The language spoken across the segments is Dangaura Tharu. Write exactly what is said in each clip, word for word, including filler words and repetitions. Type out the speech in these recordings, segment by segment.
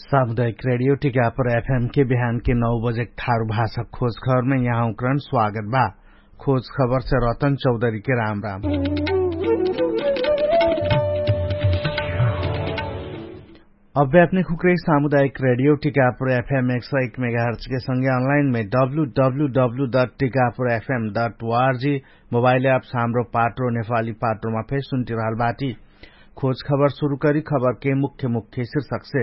सामुदायिक रेडियो टिकापुर एफएम के बिहान के नौ बजे ठारु भाषा खोज खबरमे यहाँ उक्रन स्वागत बा। खोज खबर से रतन चौधरी के राम राम। अभ्यात्मिक हुक्रे सामुदायिक रेडियो टिकापुर एफएम एक सौ एक मेगाहर्च के संगे अनलाइन मे W W W dot Tikapur FM dot ORG mobile app Hamro Patro Nepali पाट्रोमा फेर सुन्टिरहल बाटी। खोज खबर सुरु करी खबर के मुख्य मुख्य शीर्षक से।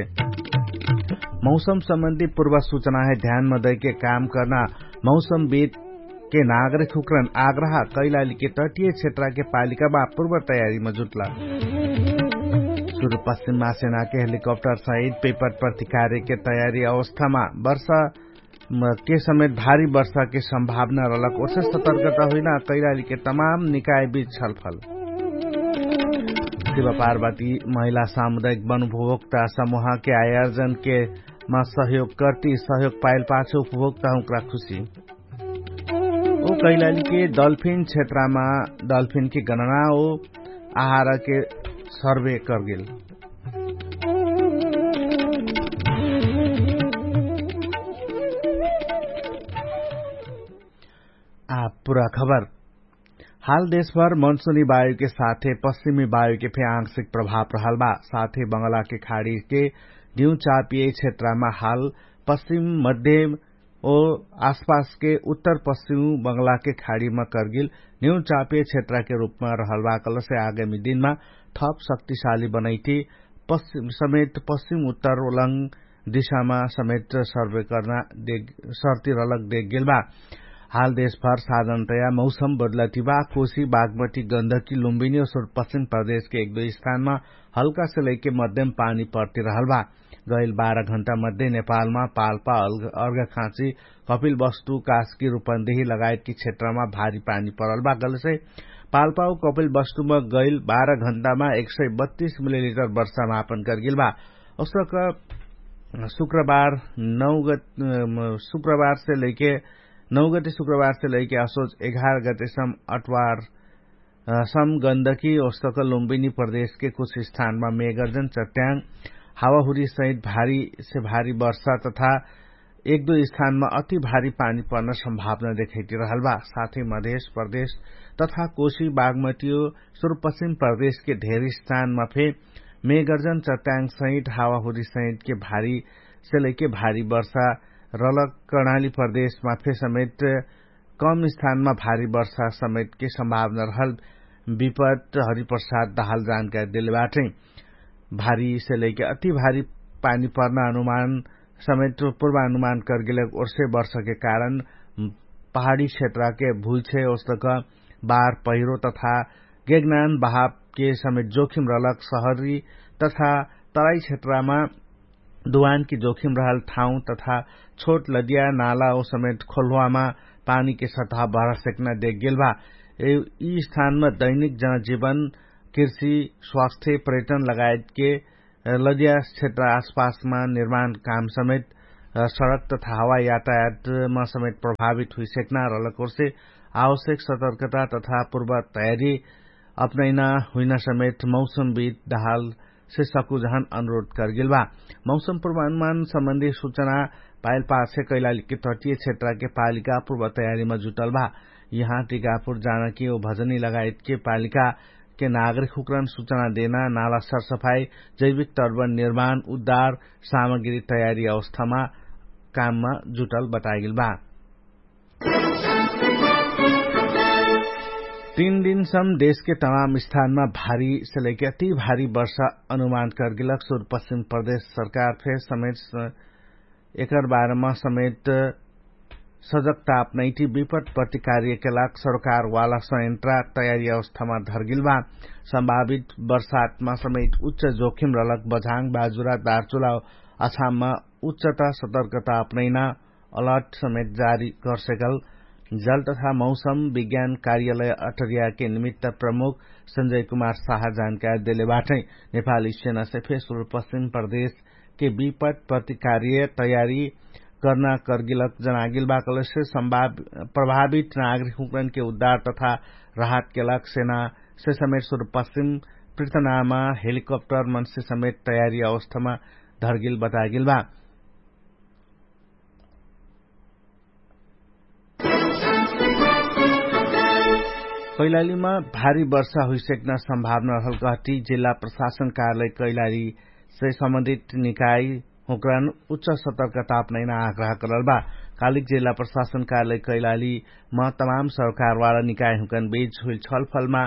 मौसम सम्बन्धी पूर्व सूचना है ध्यानमा दैके काम कर्ना मौसम बिद के नागरिक हुक्रन आग्रह कैलाली के तटिय क्षेत्र के पालिका बा पूर्व तयारी मा जुटला। सुरु पश्चिम महासेना के हेलिकप्टर सहित पेपर प्रतिकार्य के तयारी अवस्था मा वर्षा के समेत भारी वर्षा के सम्भावना रहलक ओसे सतर्कता हुइना कैलाली के तमाम निकाय बिच छलफल। शिव पार्वती महिला सामुदायिक वनुभोक्ता समूह के आयोजन के मा सहयोग कर्ती सहयोग पाइल पाछे उपभोक्ता हुँक्रा खुशी। ओ कैलाली के डल्फिन क्षेत्रमा डल्फिन के गणना ओ आहार के सर्वे कर्गेल। आ पुरा खबर। हाल देशभर मनसुनी वायुके साथे पश्चिमी वायुके फे आंशिक प्रभाव रहल बा। साथे बंगलाके खाडीके न्यू चापिय क्षेत्रमा हाल पश्चिम मध्य ओ आसपासके उत्तर पश्चिम बंगलाके खाडीमा कर्गिल न्यू चापिय क्षेत्रके रूपमा रहल बा कलसे आगमी दिनमा थप शक्तिशाली बनैती समेत पश्चिम उत्तर ओलङ दिशामा समेत सर्वे कर्ना सर्ती रलक देखगेल बा। हाल देशभर साधनतया मौसम बदलती बा। कोशी बागमती गन्धकी लुम्बिनी ओ सुरपश्चिम प्रदेशके एक दुई स्थानमा हल्कासे लैके मध्यम पानी पर्ती रहल बा। गैल बाह्र घण्टा मध्य नेपालमा पाल्पा अर्घखाँची कपिल वस्तु कास्की रूपन्देही लगायतकी क्षेत्रमा भारी पानी परल बा गलसे पाल्पा ओ कपिल वस्तुमा गैल बाह्र घण्टामा एक सय बत्तीस मिलिलिटर वर्षा मापन कर्गेल बा। उसक शुक्रबार नौ गत शुक्रबार से लैके नौ गते शुक्रबार से लैके असोच एघार गते सम अटवार सम गन्दकी ओस्तक लुम्बिनी प्रदेशके कुछ स्थानमा मेगर्जन चट्याङ हावाहुरी सहित भारी से भारी वर्षा तथा एक दुई स्थानमा अति भारी पानी पर्न सम्भावना देखैती रहल बा। साथै मधेश प्रदेश तथा कोशी बागमतियो सुरुपश्चिम प्रदेशके ढेर स्थानमा फे मेगर्जन चट्याङ सहित हावाहुरी सहितके भारी से लैके भारी वर्षा रलक कर्णाली प्रदेशमा फे समेत कम स्थानमा भारी वर्षा समेतके सम्भावना रहल विपत हरिप्रसाद दहाल जानकारी देले बाटै। भारी से लैके अति भारी पानी पर्ना अनुमान समेत पूर्वानुमान कर्गेलक ओर्से वर्षके कारण पहाडी क्षेत्रके भुइछे ओस्तक बार पहिरो तथा गेगनान बहावके समेत जोखिम रहलक सहरी तथा तराई क्षेत्रमा दुवानकी जोखिम रहल ठाउँ तथा छोट लदिया नाला ओ समेत खोल्हुवामा पानीके सतह भरसेक्ना देखगेल भा। यि स्थानमा दैनिक जनजीवन कृषि स्वास्थ्य पर्यटन लगायतके लदिया क्षेत्र आसपासमा निर्माण काम समेत सडक तथा हवाई यातायातमा समेत प्रभावित हुइसेक्ना रहलक ओर्से आवश्यक सतर्कता तथा पूर्व तयारी अपनैना हुइना समेत मौसम बित दहाल से सकुजहन अनुरोध कर्गेल बा। मौसम पूर्वानुमान सम्बन्धी सुचना पाइल पाछे कैलाली के तटिय क्षेत्रके पालिका पूर्व तयारीमा जुटल बा। यहाँ टिकापुर जानकी ओ भजनी लगायतके पालिका के नागरिक हुक्रन सुचना देना नाला सरसफाई जैविक तर्वन निर्माण उद्धार सामग्री तयारी अवस्थामा काममा जुटल बतागेल बा। तीन दिनसम देशके तमाम स्थानमा भारी से लैके अति भारी वर्षा अनुमान कर्गेलक सुरपश्चिम प्रदेश सरकार फेर समेत एकर बारेमा समेत सजगता अपनैटी विपट प्रतिकार्यके लाग सरकारवाला संयन्त्रा तयारी अवस्थामा धर्गेल बा। सम्भावित वर्षातमा समेत उच्च जोखिम रहलक बझाङ बाजुरा दार्चुला अछाममा उच्चता सतर्कता अपनैना अलर्ट समेत जारी गर्सेकल जल तथा मौसम विज्ञान कार्यालय अटरियाके निमित्त प्रमुख संजय कुमार साहा जानकारी देले बाटै। नेपाली सेनासे फेसुल पश्चिम प्रदेशके विपट प्रतिकार्य तयारी कर्ना कर्गिलक जनागिल बाकलसे प्रभावित नागरिक हुक्रनके उद्धार तथा राहतके लाग सेनासे समेत सुरु पश्चिम पृथनामा हेलिकप्टर मनसे समेत तयारी अवस्थामा धरगेल बतागेल बा। कैलालीमा भारी वर्षा हुइसक्न सम्भावना रहल कहती जिल्ला प्रशासन कार्यालय कैलाली से सम्बन्धित निकाय हुँकरन उच्च सतर्कता अपनैना आग्रह करल बा। कालिक जिल्ला प्रशासन कार्यालय कैलालीमा तमाम सरकारवाला निकाय हुँकरन बीच हुइल छलफलमा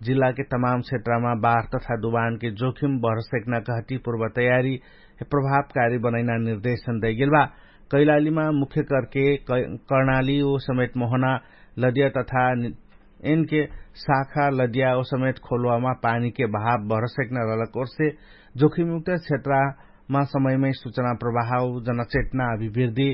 जिल्लाके तमाम क्षेत्रमा बार तथा दुवानके जोखिम बढसक्ना कहती पूर्व तयारी प्रभावकारी बनैना निर्देशन दैगेल बा। कैलालीमा मुख्य करके कर्णाली ओ समेत मोहना लदिया तथा एनके शाखा लदिया ओ समेत खोलुवामा पानीके भाव बढसक्ना रहलक ओर्से जोखिमयुक्त क्षेत्रमा समयमै सुचना प्रभाव जनचेतना अभिवृद्धि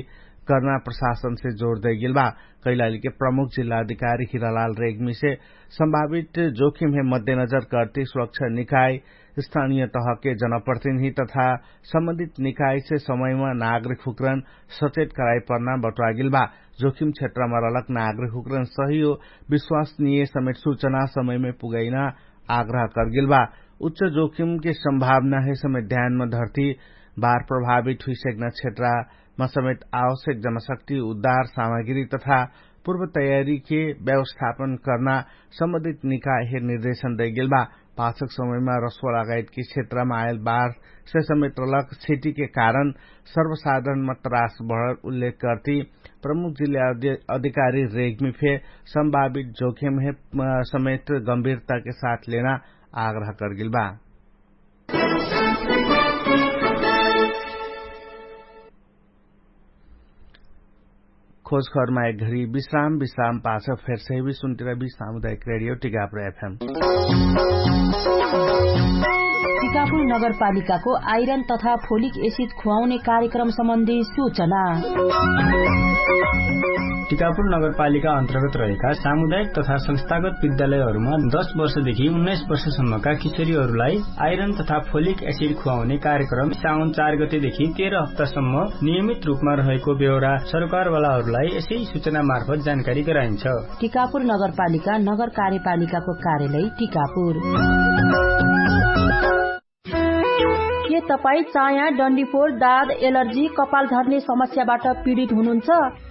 कर्ना प्रशासनसे जोर दैगेल बा। कैलालीके प्रमुख जिल्ला अधिकारी हिरालाल रेग्मीसे सम्भावित जोखिमहे मध्यनजर करती सुरक्षा निकाय स्थानिय तहके जनप्रतिनिधि तथा सम्बन्धित निकायसे समयमा नागरिक हुँकरन सचेत कराइपर्ना बट्वागेल बा। जोखिम क्षेत्रमा रहलक नागरिक हुँकरन सहियो विश्वासनिय समेत सुचना समयमै पुगैना आग्रह करगेल बा। उच्च जोखिमके सम्भावनाहे समेत ध्यानमा धर्ती बार प्रभावित हुइसक्ना क्षेत्रमा समेत आवश्यक जनशक्ति उद्धार सामग्री तथा पूर्व तयारीके व्यवस्थापन कर्ना सम्बन्धित निकायहे निर्देशन दैगेल बा। पाछक समयमा रस्वा लगायतके क्षेत्रमा आयल बार से समेत रलक क्षतिके कारण सर्वसाधारणमा त्रास बढल उल्लेख कर्ती प्रमुख जिल्ला अधिकारी रेग्मी फे सम्भावित जोखेमहे समेत गम्भीरताके साथ लेना आग्रह करगेल बा। खोजखरमा एक घरी विश्राम विश्राम पाछ फेर सहिबी सुन्टिरा बी सामुदायिक रेडियो टिकापुर एफएम। टिकापुर नगरपालिकाको आइरन तथा फोलिक एसिड खुवाउने कार्यक्रम सम्बन्धी सूचना। टिकापुर नगरपालिका अन्तर्गत रहेका सामुदायिक तथा संस्थागत विद्यालयहरूमा दश वर्षदेखि उन्नाइस वर्षसम्मका किशोरीहरूलाई आइरन तथा फोलिक एसिड खुवाउने कार्यक्रम साउन चार गतेदेखि तेह्र हप्तासम्म नियमित रूपमा रहेको बेहोरा सरकारवालाहरूलाई यसै सूचना मार्फत जानकारी गराइन्छ। टिकापुर नगरपालिका नगर कार्यपालिकाको कार्यालय टिकापुर। के तपाईँ चाया डन्डीफोर दाद एलर्जी कपाल झर्ने समस्याबाट पीडित हुनुहुन्छ?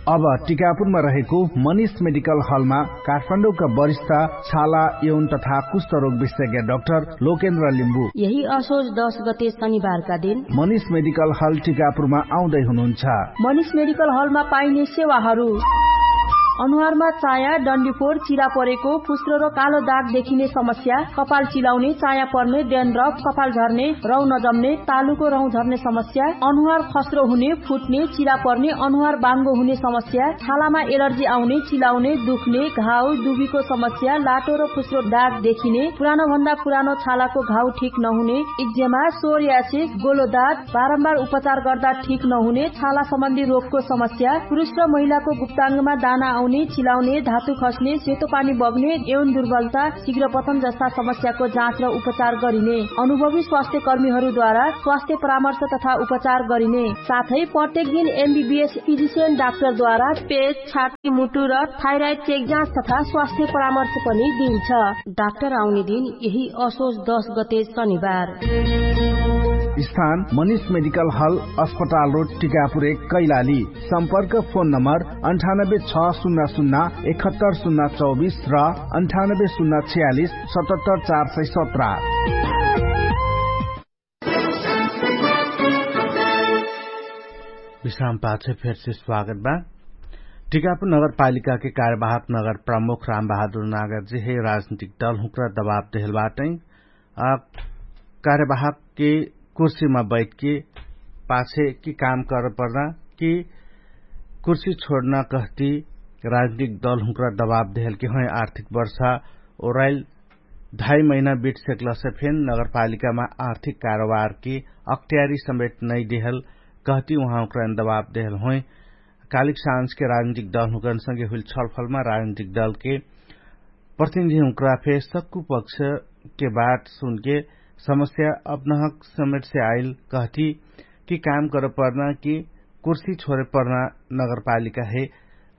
अब टिकापुरमा रहेको मनिष मेडिकल हलमा काठमाडौँका वरिष्ठ छाला यौन तथा कुष्ठरोग विशेषज्ञ डाक्टर लोकेन्द्र लिम्बू यही असोज दश गते शनिबारका दिन मनिष मेडिकल हल टिकापुरमा आउँदै हुनुहुन्छ। मनिष मेडिकल हलमा पाइने सेवाहरू अनुहारमा चाया डन्डीफोर चिरा परेको फुस्रो र कालो दाग देखिने समस्या, कपाल चिलाउने चाया पर्ने डेन्ड्रफ कपाल झर्ने रौ नजम्ने तालुको रौ झर्ने समस्या, अनुहार खस्रो हुने फुट्ने चिरा पर्ने अनुहार बाङ्गो हुने समस्या, छालामा एलर्जी आउने चिलाउने दुख्ने घाउ दुबीको समस्या लाटो र फुस्रो दाग देखिने पुरानो भन्दा पुरानो छालाको घाउ ठिक नहुने इक्जेमा सोर्यासिस गोलो दाग बारम्बार उपचार गर्दा ठिक नहुने छाला सम्बन्धी रोगको समस्या पुरुष र महिलाको गुप्ताङ्गमा दाना आउने चिलाउने धातु खस्ने सेतो पानी बग्ने यौन दुर्बलता शीघ्र पतन जस्ता समस्याको जाँच र उपचार गरिने अनुभवी स्वास्थ्य कर्मीहरूद्वारा स्वास्थ्य परामर्श तथा उपचार गरिने साथै प्रत्येक दिन एमबिबिएस फिजिसियन डाक्टरद्वारा पेट छाती मुटु र थाइराइड चेक जाँच तथा स्वास्थ्य परामर्श पनि दिइन्छ। डाक्टर आउने दिन यही असोज दश गते शनिबार। स्थान मनिष मेडिकल हल अस्पताल रोड टिकापुर एक कैलाली। सम्पर्क फोन नम्बर अन्ठानब्बे छ शून्य शून्य एकहत्तर शून्य चौबिस र अन्ठानब्बे शून्य छयालिस सतहत्तर चार सय सत्र। विश्राम पाछे फेरसे स्वागत बा। टिकापुर नगरपालिकाके कार्यवाहक नगर प्रमुख रामबहादुर नागरजी हे राजनीतिक दल हुँक्रा दबाब देहल बाटै। कार्यवाहकके कुर्सीमा बैठके पाछे कि काम करपर्ना कि कुर्सी छोड्ना कहती राजनीतिक दल हुँक्रा दबाब देहलके होइ आर्थिक वर्षा ओराइल ढाई महिना बिट सेक्लसे फेन नगरपालिकामा आर्थिक कारोबारके अक्ट्यारी समेट नैदेहल कहती उहाँ हुँक्रा दबाब देहल होइ। कालिक साँझके राजनीतिक दल हुँक्रानसँगे हुइल छलफलमा राजनीतिक दलके प्रतिनिधि हुँक्रा फे सक्कु पक्षके बात सुनके समस्या अपनहक समेटसे आइल कहती कि काम करपर्ना कि कुर्सी छोरेपर्ना नगरपालिकाहे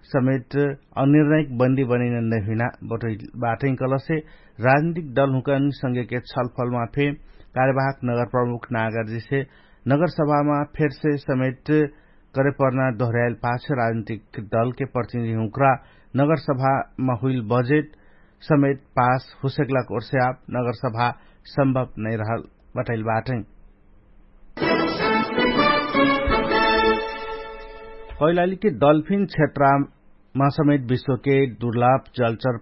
समेट अनिर्णायक बन्दी बनैना नैहुइना बटै बाटै कलसे राजनीतिक दल हुँक्रानसँगेके छलफलमा फे कार्यवाहक नगर प्रमुख नागरजीसे नगरसभामा फेरसे समेट करेपर्ना दोहर्याइल पाछ राजनीतिक दलके प्रतिनिधि हुँक्रा नगरसभामा हुइल बजेट समेट पास हुसेकलाक ओर्स्याप नगरसभा सम्भव नैरहल बटैल बाटै। कैलालीके डल्फिन क्षेत्रमा समेट विश्वके दुर्लभ जलचर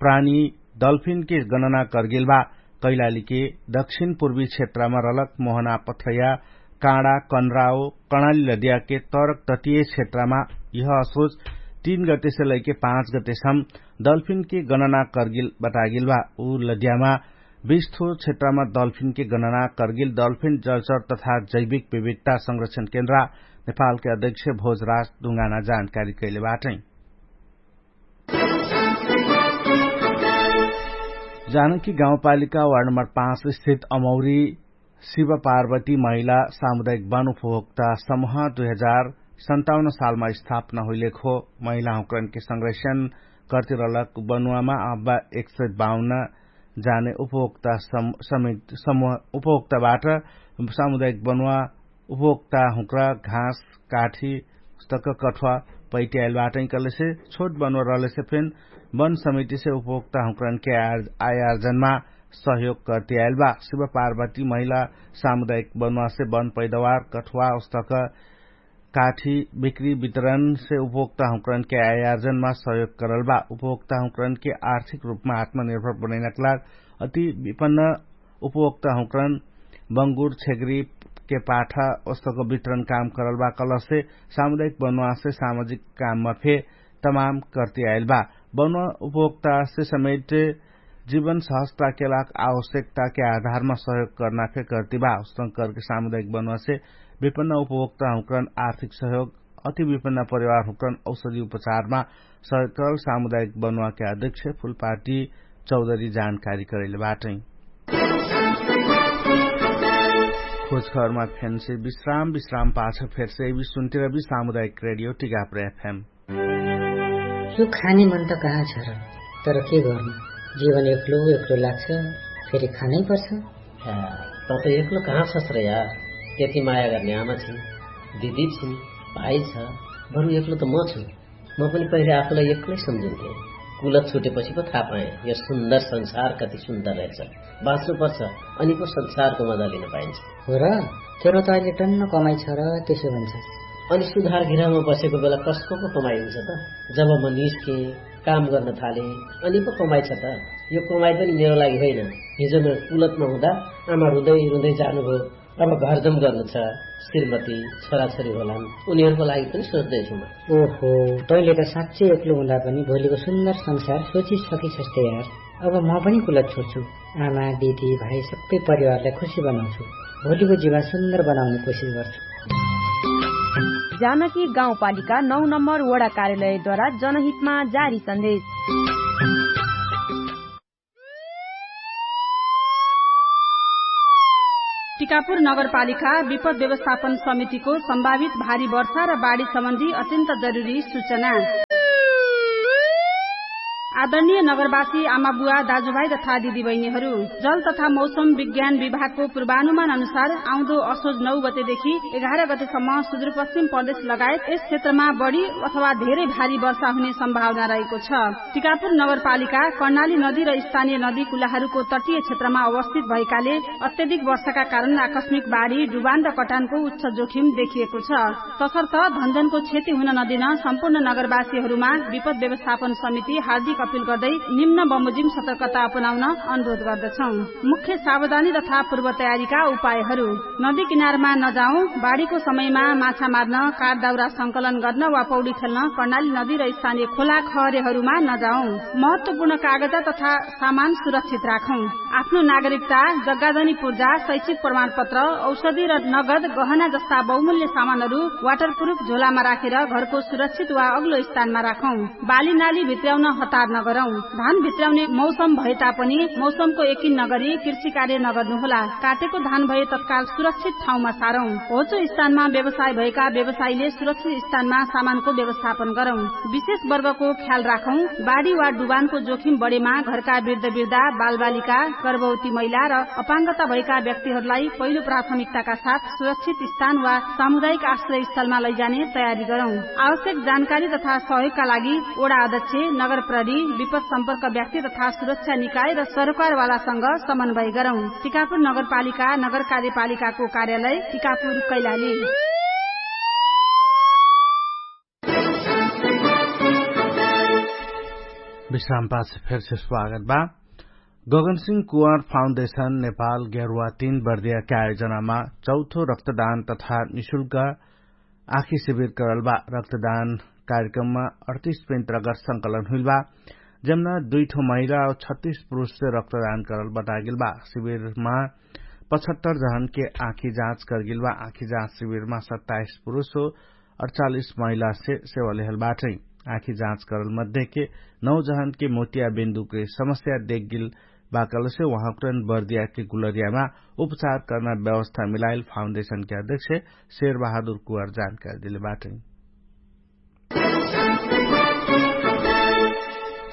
प्राणी डल्फिनके गणना करगेल बा। कैलालीके दक्षिण पूर्वी क्षेत्रमा रलक मोहना पथ्रया काँडा कनराओ कणाली लदियाके तरक तटिय क्षेत्रमा यह असोच तीन गतेसे लैके पाँच गतेसम डल्फिनके गणना करगेल बतागेल बा। उ लदियामा बिस्थो क्षेत्रमा डल्फिनके गणना करगेल डल्फिन जलचर तथा जैविक विविधता संरक्षण केन्द्रा नेपालके अध्यक्ष भोजराज ढुङ्गाना जानकारी कैले बाटै। जानकी गाउँपालिका वार्ड नम्बर पाँच स्थित अमौरी शिव पार्वती महिला सामुदायिक वन उपभोक्ता समूह दुई हजार सन्ताउन्न सालमा स्थापना हुइलेखो महिला हुँक्रनके संरक्षण कर्तिरलक बनुवामा अब्बा एक सय बाउन्न जाने उपभोक्ता सम समेत समूह उपभोक्ताबाट सामुदायिक बनुवा उपभोक्ता हुँक्रा घाँस काठी उस्तक कठुवा पैटियाइल बाटै कलेसे छोट बनुवा रहलेसे फेन वन समितिसे उपभोक्ता हुँक्रनके आयार्जनमा सहयोग कर्तियाइल बा। शिव पार्वती महिला सामुदायिक बनुवासे वन पैदावार कठुवा उस्तक काठी बिक्री वितरणसे उपभोक्ता हुँक्रनके आयार्जनमा सहयोग करल बा। उपभोक्ता हुँक्रनके आर्थिक रूपमा आत्मनिर्भर बनैनक लाग अति विपन्न उपभोक्ता हुँक्रन बङ्गुर छेग्री के पाठा ओस्तक वितरण काम करल बा कलसे सामुदायिक बनुवासे सामाजिक काममा फे तमाम कर्तियाइल बा। बनुवा उपभोक्तासे समेट जीवन सहजताके लाग आवश्यकताके आधारमा सहयोग कर्ना फे कर्ति बा। उस्तक कर्के सामुदायिक बनुवासे विपन्न उपभोक्ता हुँक्रन आर्थिक सहयोग अति विपन्न परिवार हुँक्रन औषधि उपचारमा सहयोग करल सामुदायिक बनुवाके अध्यक्ष फुलपार्टी चौधरी जानकारी करैले बाटै। खोजखबरमा फेन्से विश्राम विश्राम पाछ फेर्से विश्वन्तिरबी सामुदायिक रेडियो टिकापुर एफएम। यो खाने मन त कहाँ छ र? तर के गर्नु, जीवन एक्लो एक्लो लाग्छ, फेरि खानै पर्छ। त त एक्लो कहाँ छस् र यार? त्यति माया गर्ने आमा छिन्, दिदी छिन्, भाइ छ, बरु एक्लो त म छु। म पनि पहिले आफूलाई एक्लै सम्झिन्थे। कुलत छुटेपछि पो थाहा पाएँ, यो सुन्दर संसार कति सुन्दर रहेछ। बाँच्नु पर्छ, अनि पो संसारको मजा लिन पाइन्छ। हो र? तेरो त अहिले टन्न कमाइ छ र, त्यसो भन्छ। अनि सुधार घिरामा बसेको बेला कसको पो कमाइ हुन्छ त? जब म निस्केँ, काम गर्न थालेँ, अनि पो कमाइ छ त? यो कमाइ पनि मेरो लागि होइन। हिजो म कुलतमा हुँदा आमा रुँदै रुँदै जानुभयो। अब घरजम गर्नु छ, श्रीमती, छोराछोरी होलान्, उनीहरूको लागि पनि सोच्दैछु म। ओहो, तैँले त साँच्चै एक्लो हुँदा पनि भोलिको सुन्दर संसार सोचिसकिसस् त यार। अब म पनि कुलत छोड्छु। आमा, दिदी, भाइ, सबै परिवारलाई खुसी बनाउँछु। भोलिको जीवन सुन्दर बनाउने कोसिस गर्छु। जानकी गाउँपालिका नौ नम्बर वडा कार्यालयद्वारा जनहितमा जारी सन्देश। टिकापुर नगरपालिका विपद व्यवस्थापन समितिको सम्भावित भारी वर्षा र बाढी सम्बन्धी अत्यन्त जरुरी सूचना। आदरणीय नगरवासी आमाबुवा, दाजुभाइ तथा दिदीबहिनीहरू, जल तथा मौसम विज्ञान विभागको पूर्वानुमान अनुसार आउँदो असोज नौ गतेदेखि एघार गतेसम्म सुदूरपश्चिम प्रदेश लगायत यस क्षेत्रमा बढी अथवा धेरै भारी वर्षा हुने सम्भावना रहेको छ। टिकापुर नगरपालिका कर्णाली नदी र स्थानीय नदी कुलाहरूको तटीय क्षेत्रमा अवस्थित भएकाले अत्यधिक वर्षाका कारण आकस्मिक बाढी, डुबान र कटानको उच्च जोखिम देखिएको छ। तसर्थ धनजनको क्षति हुन नदिन सम्पूर्ण नगरवासीहरूमा विपद व्यवस्थापन समिति हार्दिक अपिल गर्दै निम्न बमोजिम सतर्कता अपनाउन अनुरोध गर्दछौं। मुख्य सावधानी तथा पूर्व तयारीका उपायहरू। नदी किनारमा नजाउँ। बाढीको समयमा माछा मार्न, काठ दाउरा संकलन गर्न वा पौडी खेल्न कर्णाली नदी र स्थानीय खोला खहरेहरूमा नजाउँ। महत्वपूर्ण कागजा तथा सामान सुरक्षित राखौं। आफ्नो नागरिकता, जग्गाजनी पूर्जा, शैक्षिक प्रमाणपत्र, औषधि र नगद गहना जस्ता बहुमूल्य सामानहरू वाटरप्रुफ झोलामा राखेर घरको सुरक्षित वा अग्लो स्थानमा राखौं। बालीनाली भित्र्याउन हतार नगरौं। धान भित्राउने मौसम भएता पनि मौसमको यकिन नगरी कृषि कार्य नगर्नु होला। काटेको धान भए तत्काल सुरक्षित ठाउँमा सारौं। होचो स्थानमा व्यवसाय भएका व्यवसायीले सुरक्षित स्थानमा सामानको व्यवस्थापन गरौं। विशेष वर्गको ख्याल राखौं। बाढी वा डुबानको जोखिम बढेमा घरका वृद्ध वृद्धा, बालबालिका, गर्भवती महिला र अपाङ्गता भएका व्यक्तिहरूलाई पहिलो प्राथमिकताका साथ सुरक्षित स्थान वा सामुदायिक आश्रयस्थलमा लैजाने तयारी गरौं। आवश्यक जानकारी तथा सहयोगका लागि वडा अध्यक्ष, नगर प्रहरी, विपद सम्पर्क व्यक्ति तथा सुरक्षा निकाय र सरकारवालासँग समन्वय गरौं। टिकापुर नगरपालिका, नगर कार्यपालिकाको कार्यालय टिकापुर, कैलाली। विश्रामपाछ फेरसे स्वागत बा। गगनसिंह कुवार फाउन्डेशन नेपाल गेरुवा तीन बर्दियाके आयोजनामा चौथो रक्तदान तथा निशुल्क आँखी शिविर करल बा। रक्तदान कार्यक्रममा अडतिस पेन्त्रगर संकलन हुइल बा, जम्ना दुइठो महिला और छत्तीस पुरुषसे रक्तदान करल बतागेल बा। शिविरमा पचहत्तर जहनके आँखी जाँच करगेल बा। आँखी जाँच शिविरमा सत्ताइस पुरुष हो अडचालिस महिलासे सेवा लेहल बाटै। आँखी जाँच करल मध्येके नौ जहनके मोतिया बिन्दुके समस्या देखगेल बाकलसे उहाँकरन बर्दियाके गुलरियामा उपचार कर्ना व्यवस्था मिलाइल फाउन्डेशनके अध्यक्ष शेर बहादुर कुवार जानकारी देले बाटै।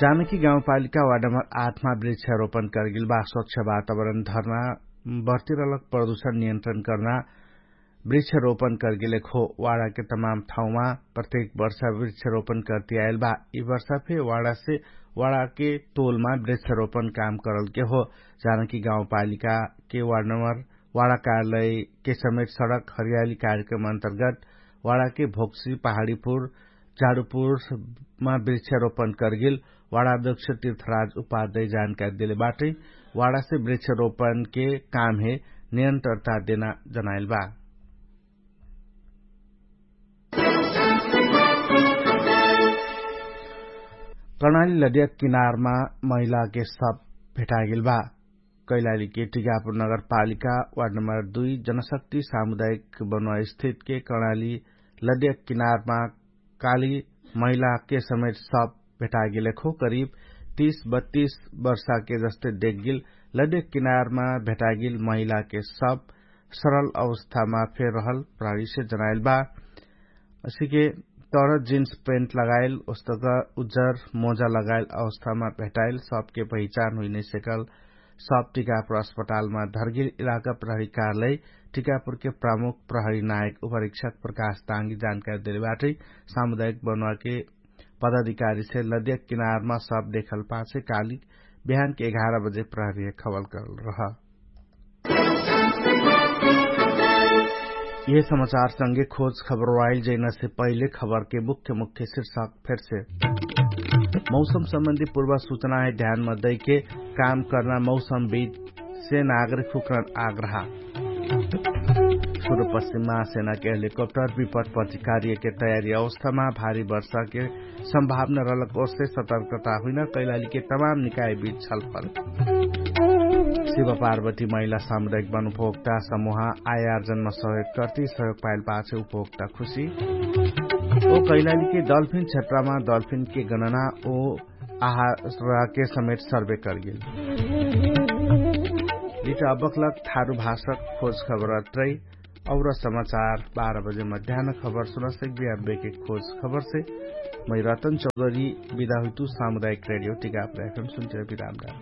जानकी गाउँपालिका वार्ड नम्बर आठमा वृक्षारोपण करगेल बा। स्वच्छ वातावरण धर्ना बर्तिरलक प्रदूषण नियन्त्रण कर्ना वृक्षारोपण करगेले खो। वाडाके तमाम ठाउँमा प्रत्येक वर्षा वृक्षारोपण करती आएल बा। यि वर्षा फे वाडासे वाडाके तोलमा वृक्षारोपण काम करलके हो। जानकी गाउँपालिकाके वार्ड नम्बर वाडा कार्यालयके समेत सडक हरियाली कार्यक्रम अन्तर्गत वाडाके भोक्सी पहाडीपुर झाडुपुरमा वृक्षारोपण करगेल वाडा अध्यक्ष तीर्थराज उपाध्याय जानकारी देले बाटै। वाडासे वृक्षारोपणके कामहे नियन्त्रता देना जनाइल बा। कर्णाली लदिया किनारमा महिलाके सब भेटागेल बा। कैलालीके टिकापुर नगरपालिका वार्ड नम्बर दुई जनशक्ति सामुदायिक बनुवा स्थितके कर्णाली लदिया किनारमा काली महिलाके समेत सब भेटागेले खो। करिब तीस बत्तीस वर्षाके जस्ते देखगेल लदिया किनारमा भेटागेल महिलाके सब सरल अवस्थामा फेर रहल प्रहरीसे जनाइल बा। असिके तर जिन्स पेन्ट लगाइल उस्तक उज्जर मोजा लगाइल अवस्थामा भेटाइल सबके पहिचान हुइनैसेकल। सब टिकापुर अस्पतालमा धर्गिल इलाका प्रहरी कार्यालय टिकापुरके प्रमुख प्रहरी नायक उपरीक्षक प्रकाश ताङ्गी जानकारी देले बाटै। सामुदायिक बनुवाके पदाधिकारीसे लदिया किनारमा सब देखल पाछे काली बिहानके एघार बजे प्रहरीहे खबल करल रह। यह समाचार संगे खोज खबर वाइल जैना से पहिले खबर के मुख्य मुख्य शीर्षक फेर से। मौसम सम्बन्धी पूर्व सूचना है ध्यान मा दैके काम करना मौसम बीच से नागरिक हुकरण आग्रह। सुरु पश्चिम महासेना के हेलिकप्टर विपट पति कार्य के तयारी अवस्था मा भारी वर्षा के सम्भावना रहलक ओर्से सतर्कता हुइन कैलालीके तमाम निकायबीच छलफल। शिव पार्वती महिला सामुदायिक वन उपभोक्ता समुहा आयार्जनमा सहयोग कर्ति सहयोग पाइल पाछे उपभोक्ता खुशी। ओ कैलालीके डल्फिन क्षेत्रमा डल्फिनके गणना ओ आहारके समेत सर्वे कर्गेल। लिट अबकलक थारु भाषक खोज खबर अत्रै। और समाचार बाह्र बजे मध्यान खबर सुनसक बिहान बेके खोज खबरसे मै रतन चौधरी बिदा हुइतु सामुदायिक रेडियो टिकापुर एफएम सुन्चर बिराम डाल।